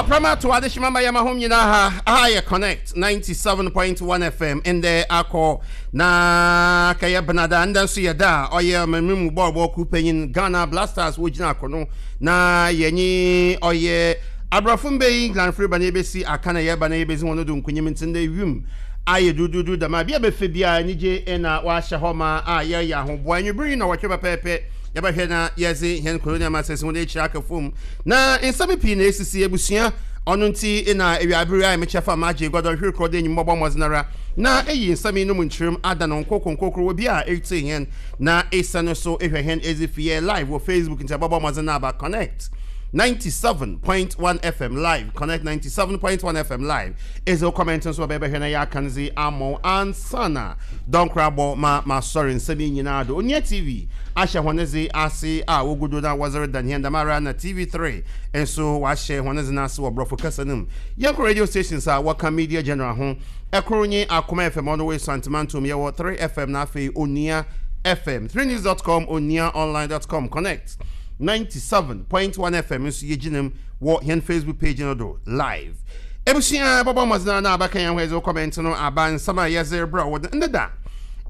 Ɔprama to adehyema ma yɛma hom nyinaa ha. Aha yɛ Connect 97.1 FM ndɛ akɔ na kɛyɛ benada ndɛ nso yɛ da a ɔyɛ ɔmanmu mu bɔɔlbɔ kuw panyin Ghana Blasters wogyina akono na yɛnye ɔyɛ aborɔfo mbɛ yi England fo reba na yɛbɛsi aka na yɛreba na yɛbɛdzi hɔn do nkunyim ntsi ndɛ wim ayɛ duuduudu dɛm a bia bɛfɛ biara enyigye na wɔahyɛ hɔ ma a yɛreyɛ ahoboa enwuber yi na wɔtwe pɛpɛɛpɛ yɛbɛhwɛ na yɛdze hɛn colonial masters hɔn ekyir aka famu Na nsɛm pii na esisi ebusua, ɔno ntsi na ewiaber yi ayɛ me kyɛfa magye egua dɔnhwer kor dɛ enyim bɔbɔ mbɔdzen ara na eyi nsɛm yinom nkyerɛmu ada no nkorkor nkorkor wɔ bi a eretsie hɛn na esan so ehwɛ hɛn edze fi yɛ live wɔ Facebook ntsi ebɔbɔ mbɔdzen na aba Connect 97.1 FM live Connect 97.1 FM live edze wo comment nso bɛbɛ bɛhwɛ na yɛaka no dze ama wo ansaana dɔnkor abɔ ma masɔre nsɛm yi nyinaa do. Onua TV ahyɛ hɔn dze ase a wogu do na wɔdze redan hɛn, dɛmara na TV3 so wɔahyɛ hɔn dze no ase wɔ Borɔfo kasa no mu. Yɛkɔ radio stations a wɔka Media General ho, kor nye Akoma FM, ɔno wɔ Esuantse Mantom, yɛwɔ 3FM na afei Onua FM, 3news dot com, onuaonline dot com, Connect 97.1 FM so yegyina mu wɔ hɛn Facebook page no do live. Ebusua, bɔbɔ mbɔdzen ara na abɛka hɛn ho edze wo comment no aba nsɛm a yɛdze rebrɛ wo ndeda.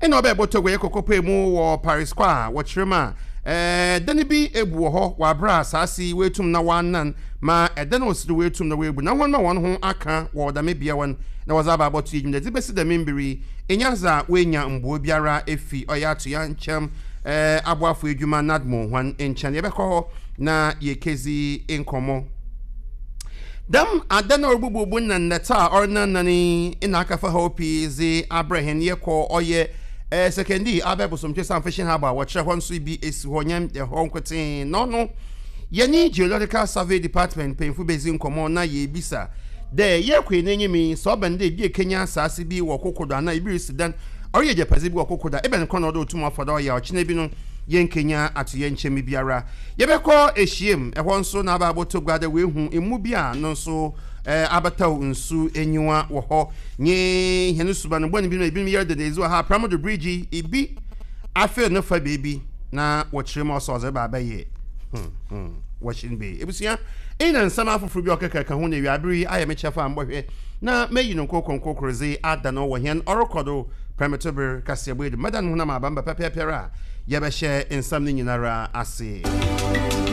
Nna ɔbɛyɛ bɔtɔ guayɛ kɔkɔpɔe mu wɔ Paris kɔ a wɔkyerɛ mu a, dan bi ebu wɔ hɔ wɔ aber a asaase yi woetum na wɔanan ma dan a osi do woetum na woebu na hɔn ma hɔn ho akã wɔ dɛm bea hɔ no na wɔdze aba abɔto edwuma dze besi dɛm mber yi nnyɛ adze a woenya mboa biara efi ɔyɛ atoyerɛnkyɛm aboafo edwuma NADMO hɔn nkyɛn. Yɛbɛkɔ hɔ na yeekedzi nkɔmbɔ. Dɛm adan a orubububu na ndɛtse a ɔrenannan yi na akɛfa haw pii dze abrɛ hɛn. Yɛkɔ ɔyɛ Sekondi abɛ Bosomtwe Sam Fishing Harbour a wɔkyerɛ hɔ nso bi esi hɔ, nnyɛ hɔ nkotsee. Na ɔno yɛnye Geological Survey Department mpanyimfo bedzi nkɔmbɔ na yeebisa dɛ yɛkɔ hɛn enyim yi, sɛ ɔba no dɛ bi ekenya asaase bi wɔ koko do anaa bi risi dan, ɔreyɛ egyapadze bi wɔ koko do a, ebɛn kwan na ɔwɔ dɛ otum ɔfa do ɔyɛ a ɔkyena bi no yennkenya atoyerɛnkyɛm biara. Yɛbɛkɔ ehyiam, ɛhɔ nso na aba abɔtɔ gua dɛ woehu mmu bi a no nso abɛtɛw nsu enyiwa wɔ hɔ nye hɛn suban bɔn binom a binom yɛr deda edzi wɔ ha. Apramo do bridge yi, bi afer no fa beebi na wɔkyerɛ mu a ɔsɛ ɔdze reba abɛyɛ washing bay. Ebusua, iyi na nsɛm afofor bi a ɔkekakã ho na ewiaber yi ayɛ me kyɛfa a mobɔhwɛ na meyi no nkorkor nkorkor dze ada no wɔ hɛn ɔrokɔ do prɛmtober kaseɛbɔ yi do. Mɛdan mo ho na maaba mba pɛpɛɛpɛr a yɛbɛhyɛ nsɛm no nyinara ase.